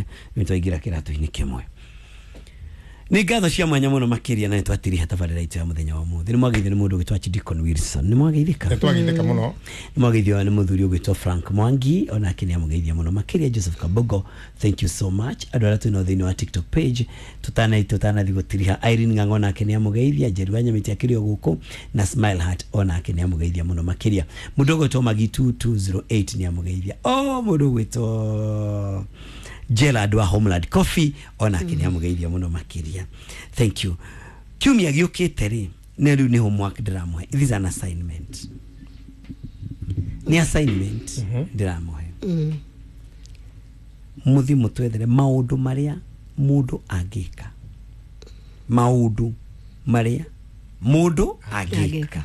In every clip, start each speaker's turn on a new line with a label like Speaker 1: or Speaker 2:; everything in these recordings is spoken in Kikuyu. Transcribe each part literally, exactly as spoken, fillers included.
Speaker 1: kĩmwe, nĩ twaingĩra kĩratũ-inĩ kĩmwe. Nĩ ngatho cia mwanya mũno makĩria, na nĩ twatiriha tabarĩra itũ ya mũthenya wa ũmũthĩ. Nĩ mwageithio nĩ mũndũ ũgwĩtwo Archdeacon Wilson, nĩ mwageithĩka?
Speaker 2: Nĩ twageithĩka mũno.
Speaker 1: Nĩ mwageithio nĩ mũthuri ũgwĩtwo Frank Mwangi, onake nĩ amũgeithia mũno makĩria. Joseph Kabogo, thank you so much. Andũ arĩa twĩnao thĩinĩ wa TikTok page, tutana tutanathi gũtiriha, Irene Ng'ang'o nake nĩ amũgeithia, Njeri wa Nyamĩtĩ akĩrĩ o gũkũ, na Smile Heart onake nĩ amũgeithia mũno makĩria. Mũndũ ũgwĩtwo Magi two two zero eight nĩ amũgeithia. O mũndũ ũgwĩtwo Gerard wa Homeland Coffee onake nĩ amũgeithia mũno makĩria. Thank you. Kiumia gĩũkĩte rĩ, nĩ rĩu nĩ homework ndĩramũhe. This is an assignment, nĩ assignment ndĩramũhe. Mũthiĩ mũtwethere maũndũ marĩa mũndũ angĩka, maũndũ marĩa mũndũ angĩka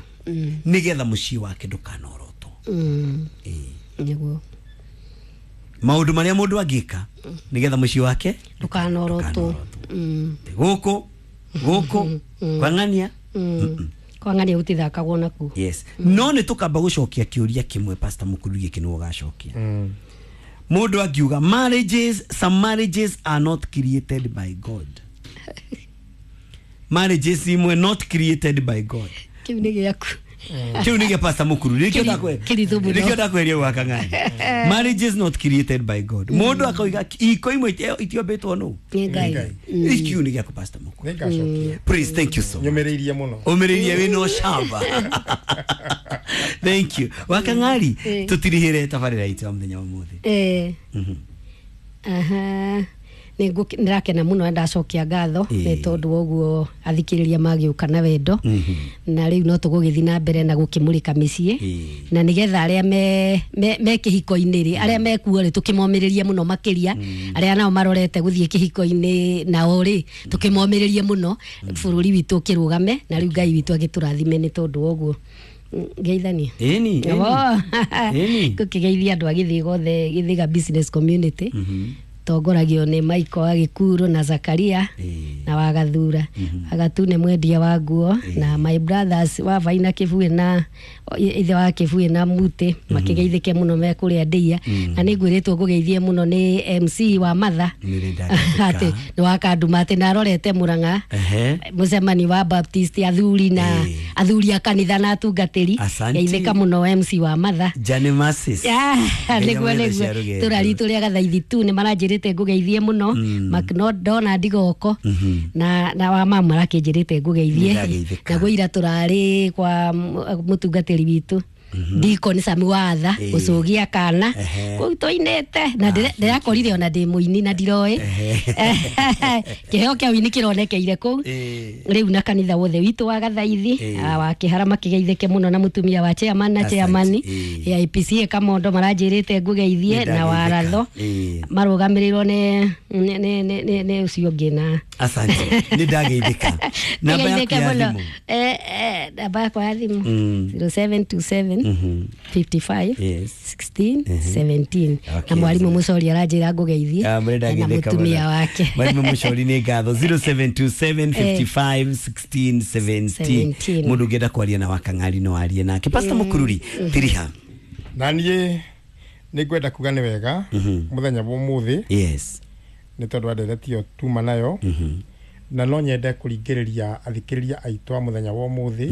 Speaker 1: nĩgetha mũciĩ wake ndũkanorotwo.
Speaker 3: Mm.
Speaker 1: Ĩĩ.
Speaker 3: Nĩguo.
Speaker 1: Maũndũ marĩa mũndũ angĩka nĩgetha mũciĩ wake
Speaker 3: ndũkanorotwo.
Speaker 1: Ndũkanorotwo.
Speaker 3: Mm.
Speaker 1: Gũkũ gũkũ kwang'ania.
Speaker 3: Mm. Kwang'ania gũtithakagwo nakuo.
Speaker 1: Yes, no nĩ tũkamba gũcokia kĩũria kĩmwe. Pastor Mũkuru, gĩkĩ nĩwe ũgacokia. Mũndũ angiuga marriages, some marriages are not created by God, marriages imwe not created by God.
Speaker 3: Kĩu nĩ gĩaku.
Speaker 1: Kĩu nĩ gĩa Pastor Mũkuru, nĩkĩo ndakwe
Speaker 3: Kĩritũ mũno.
Speaker 1: Nĩkĩo ndakweria gwaka ng'ani. Marriages not created by God, mũndũ akoiga iko imwe iti- itiombĩtwo nũ?
Speaker 3: Nĩ Ngai.
Speaker 2: Ngai.
Speaker 1: Kĩu nĩ gĩaku, Pastor Mũkuru.
Speaker 2: Nĩ ngacokia.
Speaker 1: Please, thank you so much.
Speaker 2: Nyũmĩrĩirie mũno.
Speaker 1: Ũmĩrĩirie wĩna ũcamba, thank you. Wakang'ari,
Speaker 3: Eh.
Speaker 1: tũtirihĩre tabarĩra itũ ya mũthenya wa ũmũthĩ.
Speaker 3: Eh. Aha. Nĩ ngũke- ndĩrakena mũno na ndacokia ngatho
Speaker 1: Ĩĩ.
Speaker 3: nĩ tondũ wa ũguo athikĩrĩria magĩũka na wendo, na rĩu no tũgũgĩthiĩ na mbere na gũkĩmũrĩka mĩciĩ,
Speaker 1: Ĩĩ.
Speaker 3: na nĩgetha arĩa me, me, me kĩhiko-inĩ rĩ, arĩa mekuo rĩ, tũkĩmomĩrĩrie mũno makĩria. Arĩa nao marorete gũthiĩ kĩhiko-inĩ nao rĩ, tũkĩmomĩrĩrie mũno, bũrũri witũ ũkĩrũgame, na rĩu Ngai witũ agĩtũrathime nĩ tondũ wa ũguo. Mm, ngeithanie.
Speaker 1: Ĩni, ĩni.
Speaker 3: Oh.
Speaker 1: Ĩni.
Speaker 3: Ngũkĩgeithia andũ a Gĩthĩga othe, Gĩthĩga business community, tongoragio nĩ Michael wa Gĩkuru na Zakaria
Speaker 1: Ĩĩ.
Speaker 3: na Wagathura Agatune, mwendia wa nguo, na my brothers wa Vaina Kĩbuĩ na ithe wa Kĩbuĩ na Mutĩ, makĩgeithĩke mũno me kũrĩa ndĩia. Na nĩ ngwĩrĩtwo ngũgeithie mũno nĩ M C wa Matha.
Speaker 1: Nĩ ndagĩka.
Speaker 3: Atĩ nĩ wakanduma atĩ narorete Mũrang'a
Speaker 1: Ehe.
Speaker 3: mũcemanio wa Baptist athuri na
Speaker 1: Ĩĩ.
Speaker 3: athuri a kanitha na atungatĩri.
Speaker 1: Asante.
Speaker 3: Geithĩka mũno, M C wa Matha.
Speaker 1: Jane Masis.
Speaker 3: Ah,
Speaker 1: Ngai
Speaker 3: nĩguo.
Speaker 1: amwethe
Speaker 3: Nĩguo.
Speaker 1: cia rũgendo.
Speaker 3: Tũra ritũ rĩa gathaithi tu nĩ maranjĩrĩte ngũgeithie mũno. Macdonald Goko na na wa mama marakĩnjĩrĩte ngũgeithie.
Speaker 1: Nĩndageithĩka.
Speaker 3: Naguo ira tũrarĩ kwa mm, mũtungatĩri witũ Deacon Sami Watha
Speaker 1: Ĩĩ.
Speaker 3: gũcũgia kana.
Speaker 1: Ehe.
Speaker 3: Kũu tũinĩte na ndĩre- ndĩrakorire ona ndĩ mũini na ndiroĩ kĩheo kĩa ũini kĩronekeire kũu.
Speaker 1: Ĩĩ.
Speaker 3: Rĩu na kanitha wothe witũ wa gathaithi,
Speaker 1: Ĩĩ.
Speaker 3: ah, wa kĩhara makĩgeithĩke mũno, na mũtumia wa chairman na
Speaker 1: Asante.
Speaker 3: chairman
Speaker 1: Ĩĩ.
Speaker 3: ya I P C Kamondo maranjĩrĩte ngũgeithie, na waratho
Speaker 1: Ĩĩ.
Speaker 3: marũgamĩrĩrwo nĩ nĩ nĩ nĩ- nĩ nĩ ũcio ũngĩ na
Speaker 1: Asante, nĩ ndageithĩka. Namba yaku
Speaker 3: Ngeithĩke
Speaker 1: ya
Speaker 3: mũno.
Speaker 1: thimũ?
Speaker 3: Eh, eh, namba yakwa ya thimũ
Speaker 1: Mm.
Speaker 3: zero seven two seven fifty-five
Speaker 1: Yes.
Speaker 3: sixteen seventeen.
Speaker 1: Okay.
Speaker 3: Na mwarimũ Mũcori aranjĩra ngũgeithie
Speaker 1: Ah, mũrĩ
Speaker 3: na
Speaker 1: ndageithĩka
Speaker 3: mũtumia
Speaker 1: mũno.
Speaker 3: wake.
Speaker 1: Mwarimũ Mũcori, nĩ ngatho. zero seven two seven fifty-five sixteen seventeen.
Speaker 3: seventeen.
Speaker 1: Mũndũ ũngĩenda kwaria na Wakang'ari no arie nake. Pastor Mũkururi, tiriha.
Speaker 2: Na niĩ nĩ ngwenda kuga nĩ wega mũthenya wa ũmũthĩ
Speaker 1: yes
Speaker 2: nĩ tondũ wa ndereti ĩyo tuma nayo, na no nyende kũringĩrĩria athikĩrĩria aitũ a mũthenya wa ũmũthĩ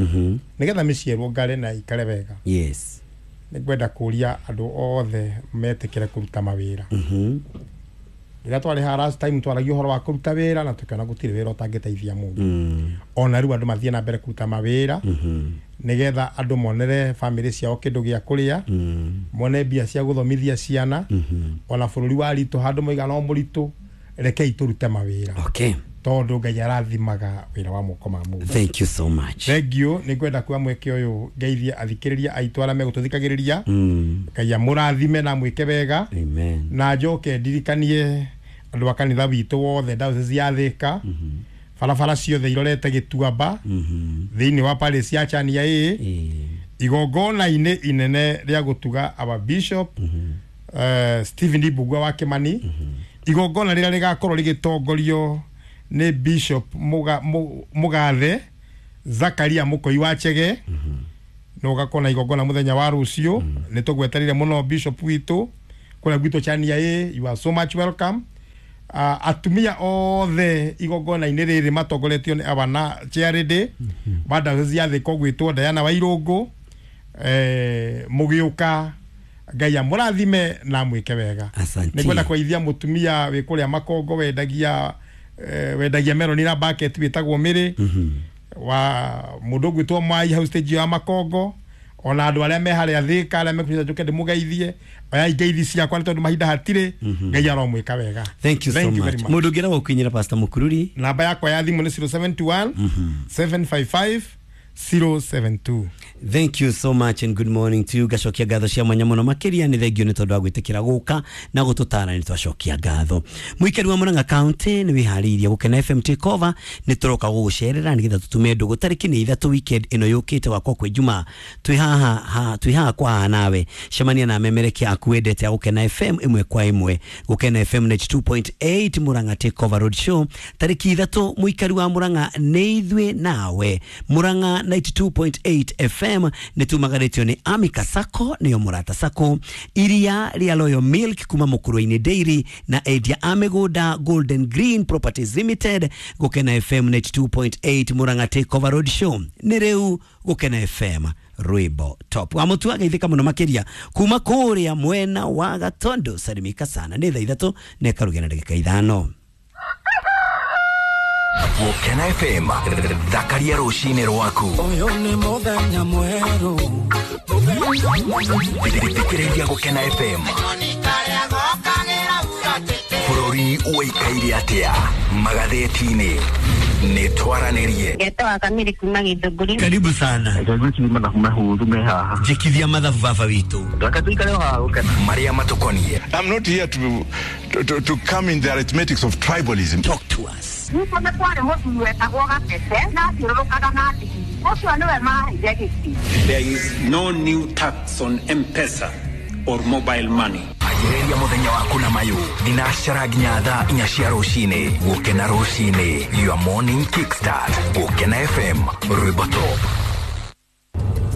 Speaker 2: nĩgetha mĩciĩ ĩrũngare na ikare wega.
Speaker 1: Yes
Speaker 2: nĩ ngwenda kũria andũ othe metĩkĩre kũruta mawĩra. Rĩrĩa twarĩ haha last time twaragia ũhoro wa kũruta wĩra na tũkĩona gũtirĩ wĩra ũtangĩteithia mũndũ. Ona rĩu andũ mathiĩ na mbere kũruta mawĩra nĩgetha andũ monere bamĩrĩ ciao kĩndũ gĩa kũrĩa, mone mbia cia gũthomithia ciana. Ona bũrũri wa ritũ handũ moiga no mũritũ, rekei tũrute mawĩra,
Speaker 1: okay
Speaker 2: tondũ Ngai arathimaga wĩra wa moko ma mũndũ.
Speaker 1: Thank you so much.
Speaker 2: Thank you. Nĩ ngwenda kuoya mweke ũyũ ngeithie athikĩrĩria aitũ arĩa megũtũthikagĩrĩria.
Speaker 1: mm.
Speaker 2: Ngai amũrathime na mwĩke wega.
Speaker 1: Amen.
Speaker 2: Na njoke ndirikanie andũ a kanitha witũ wothe, diocese ya Thĩka, barabara ciothe irorete Gĩtuamba thĩinĩ wa parish ya Chania ĩ
Speaker 1: Ĩĩ.
Speaker 2: igongona-inĩ inene rĩa gũtuga our bishop uh, Stephen Mbugua wa Kimani, igongona rĩrĩa rĩgakorwo rĩgĩtongorio nĩ Bishop Muga- Mu- Mũgathe Zakaria Mũkoi wa Chege. No ũgakorwo na igongona mũthenya wa rũciũ. Nĩ tũgweterire mũno bishop witũ kũrĩa gwitũ Chania ĩ. You are so much welcome. uh, atumia othe igongona-inĩ rĩrĩ matongoretio nĩ awana charity wa diocese ya Thika ũgwĩtwo Diana Wairũngũ. eh, mũgĩũka Ngai amũrathime na amwĩke wega.
Speaker 1: Asante.
Speaker 2: Nĩngwenda kũgeithia mũtumia wĩ kũrĩa Makongo wendagia eh, wendagia meroni na bucket wĩtagwo Mĩrĩ, wa mũndũ ũgwĩtwo Mwai hau stage ya Makongo, ona andũ arĩa me harĩa Thika arĩa mekũnyita njũke ndĩmũgeithie, oyai ngeithi ciakwa nĩ tondũ mahinda hatirĩ. Ngai aromwĩka wega.
Speaker 1: Thank you so
Speaker 2: Thank you very
Speaker 1: much.
Speaker 2: much.
Speaker 1: Mũndũ ũngĩenda gũkinyĩra Pastor Mukururi?
Speaker 2: Namba yakwa ya thimũ nĩ zero seven two one seven five five zero seven two.
Speaker 1: Thank you so much and good morning to you. Ngacokia ngatho cia mwanya mũno makĩria, nĩ thengio nĩ tondũ wa gwĩtĩkĩra gũka na gũtũtara, nĩ twacokia ngatho. Mũikari wa Murang'a County, nĩ wĩharĩirie Gũkena F M take over, nĩ tũroka gũgũcerera nĩgetha tũtume ndũgũ tarĩki nĩ ithatũ weekend ĩno yũkĩte wakwa kwĩ Jumaa. Twĩ haha ha, twĩ haha kwa haha nawe, cemania na memerekia aku wendete a Gũkena F M ĩmwe kwa ĩmwe. Gũkena F M ninety two point eight Murang'a take over road show tarĩki ithatũ. Mũikari wa Murang'a, nĩ ithuĩ nawe. Murang'a ninety two point eight F M nĩ tumagarĩtio nĩ Amika Sacco, nĩyo Mũrata Sacco, iria rĩa Royal Milk kuma Mũkũrwe-inĩ Dairy na endia a mĩgũnda Golden Green Properties Limited. Gũkena F M ninety two point eight Murang'a take over road show nĩ rĩu. Gũkena F M rwĩmbo top wa mũtu ageithĩka mũno makĩria kuma kũrĩa mwena wa Gatondo. Salimika sana, nĩ thaa ithatũ na ĩkarugia na ndagĩka ithano.
Speaker 4: Gũkena F M, thakaria rũcinĩ rwaku.
Speaker 5: Ũyũ nĩ mũthenya mwerũ.
Speaker 4: Thikĩrĩria Gũkena F M. Bũrũri ũikaire atĩa magathĩti-inĩ? Nĩ twaranĩrie.
Speaker 6: Ngetwa Kamiri kuma Githũngũri.
Speaker 1: Karibu sana.
Speaker 7: Ngai mathabu mahũthũ me haha.
Speaker 1: Njĩkithia mathabu baba witũ.
Speaker 7: Reke tũikare o haha Gũkena.
Speaker 4: Marĩa matũkoniĩ.
Speaker 8: I'm not here to, to, to come in the arithmetics of tribalism.
Speaker 1: Talk to us.
Speaker 6: Nĩkuo nĩ kwarĩ mũthuri wetagwo Gatete na athiũrũrũkaga na ndigiri. Ũcio nĩwe maheire gĩtĩ.
Speaker 9: There is no new tax on M-Pesa or mobile money.
Speaker 4: Anjĩrĩria mũthenya waku na mayũ thinacara nginya thaa inya cia rũcinĩ. Gũkena rũcinĩ, your morning kickstart. Gũkena F M, rwĩmbo top.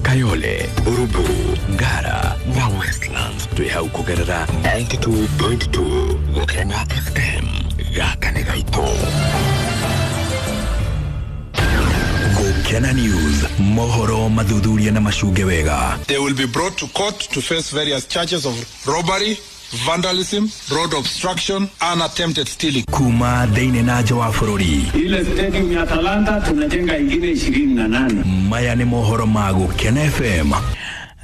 Speaker 10: Kayole, Buruburu, Ngara na Westlands twĩ hau kũgerera ninety two point two Gũkena F M. Gaka nĩ gaitũ.
Speaker 4: Gũkena News, mohoro mathuthuria na macunge wega.
Speaker 8: They will be brought to court to face various charges of robbery, vandalism, road obstruction and attempted stealing.
Speaker 4: Kuma thĩinĩ na nja wa bũrũri.
Speaker 9: Ile stadium ya Talanta tunajenga ingine ishirini na nane.
Speaker 4: Maya nĩ mohoro ma Gũkena F M.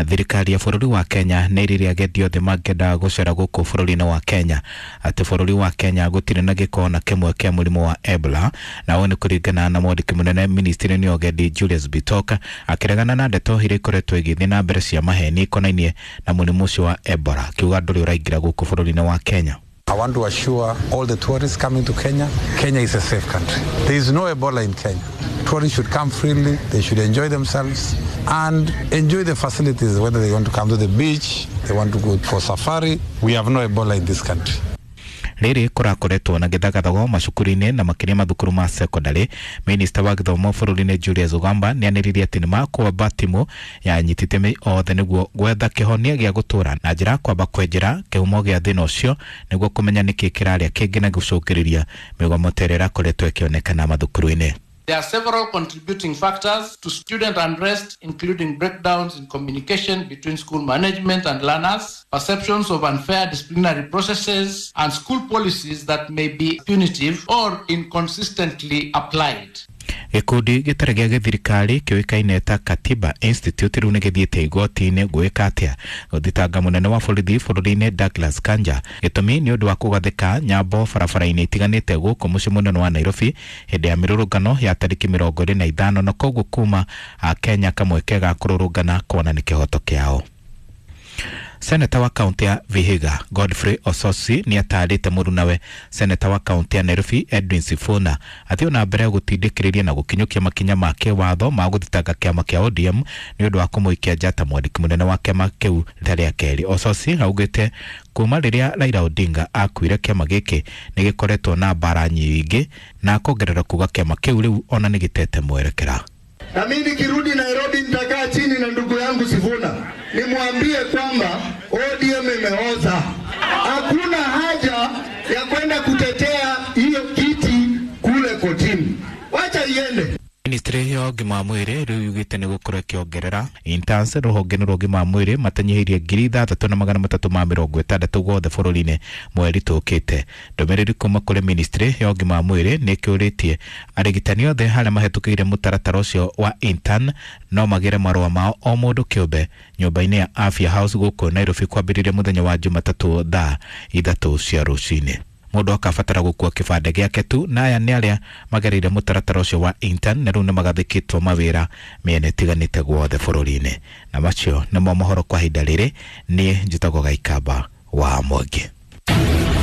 Speaker 11: Thirikari ya bũrũri wa Kenya nĩ ĩrire agendi othe mangĩenda gũcera gũkũ bũrũri-inĩ wa Kenya atĩ bũrũri wa Kenya gũtirĩ na gĩko na kĩmwe kĩa mũrimũ wa Ebola, na ũũ nĩ kũringana na mwandĩki mũnene ministry-inĩ ya ũgendi Julius Bitok akĩregana na ndeto iria ikoretwo igĩthiĩ na mbere cia maheni ikonainie na mũrimũ ũcio wa Ebola, akiuga ndũrĩ ũraingĩra gũkũ bũrũri-inĩ wa Kenya.
Speaker 12: I want to assure all the tourists coming to Kenya, Kenya is a safe country. There is no Ebola in Kenya. Tourists should come freely, they should enjoy themselves and enjoy the facilities, whether they want to come to the beach, they want to go for safari. We have no Ebola in this country.
Speaker 11: Rĩrĩ kũrakoretwo na gĩthagathago macukuru-inĩ na makĩria mathukuru ma secondary. Minista wa gĩthomo bũrũri-inĩ Julius Ogamba nĩanĩrĩire atĩ nĩmakwamba timu ya anyiti itemi othe nĩguo gwetha kĩhonia gĩa gũtũra na njĩra ya kwamba kwenjera kĩhumo gĩa thĩna ũcio nĩguo kũmenya nĩkĩ kĩrarĩa kĩngĩ na gũcũngĩrĩria mĩgomo ta ĩrĩa ĩrakoretwo ĩkĩonekana mathukuru-inĩ.
Speaker 13: There are several contributing factors to student unrest, including breakdowns in communication between school management and learners, perceptions of unfair disciplinary processes, and school policies that may be punitive or inconsistently applied.
Speaker 11: Gĩkundi gĩtarĩ gĩa gĩthirikari kĩũĩkaine ta Katiba Institute rĩu nĩgĩthiĩte igoti-inĩ gwĩka atĩa gũthitanga mũnene wa borithi bũrũri-inĩ Douglas Kanja. Gĩtũmi nĩ ũndũ wa kũgathĩka nyambo barabara-inĩ itiganĩte gũkũ mũciĩ mũnene wa Nairobi hĩndĩ ya mĩrũrũngano ya tarĩki mĩrongo ĩrĩ na ithano, na koguo kuma Kenya kamweke ga kũrũrũngana kuona nĩ kĩhoto kĩao. Seneta wa kaunti ya Vihiga Godfrey Ososi nĩ atarĩte mũrunawe seneta wa kaunti ya Nairobi Edwin Sifuna athiĩ na mbere gũtindĩkĩrĩria na gũkinyũkia makinya ma kĩwatho ma gũthitanga kĩama kĩa O D M nĩ ũndũ wa kũmũikia nja ta mwandĩki mũnene wa kĩama kĩu rita rĩa kerĩ. Ososi augĩte kuma rĩrĩa Raila Odinga akuire kĩama gĩkĩ nĩ gĩkoretwo na mbara nyingĩ na akongerera kuga kĩama kĩu rĩu ona nĩ gĩtete mwerekera.
Speaker 14: Na mimi nikirudi Nairobi nitakaa chini na ndugu yangu Sifuna nimwambie kwamba O D M imeoza. Hakuna haja ya kwenda kutetea
Speaker 11: Ministry ya ũgima wa mwĩrĩ rĩu yugĩte nĩ gũkorwo ĩkĩongerera interns rũhonge-inĩ rwa ũgima wa mwĩrĩ matanyihĩirie ngiri ithathatũ na magana matatũ ma mĩrongo ĩtandatũ guothe bũrũri-inĩ mweri tũkĩte. Ndũmĩrĩri kuma kũrĩ ministry ya ũgima wa mwĩrĩ nĩ ĩkĩũrĩtie arigitani othe arĩa mahĩtũkĩire mũtaratara ũcio wa intern no magĩre marũa mao o mũndũ kĩũmbe nyũmba-inĩ ya Afya House gũkũ Nairobi kwambĩrĩria mũthenya wa Jumatatũ thaa ithatũ cia rũcinĩ. Mũndũ akabatara gũkua kĩbandĩ gĩake tu, na aya nĩ arĩa magereire mũtaratara ũcio wa intern na rĩu nĩ magathĩkĩtwo mawĩra mĩena ĩtiganĩte guothe bũrũri-inĩ. Na macio nĩmo mohoro kwa ihinda rĩrĩ. Niĩ njĩtagwo Gaikamba wa Mwangi.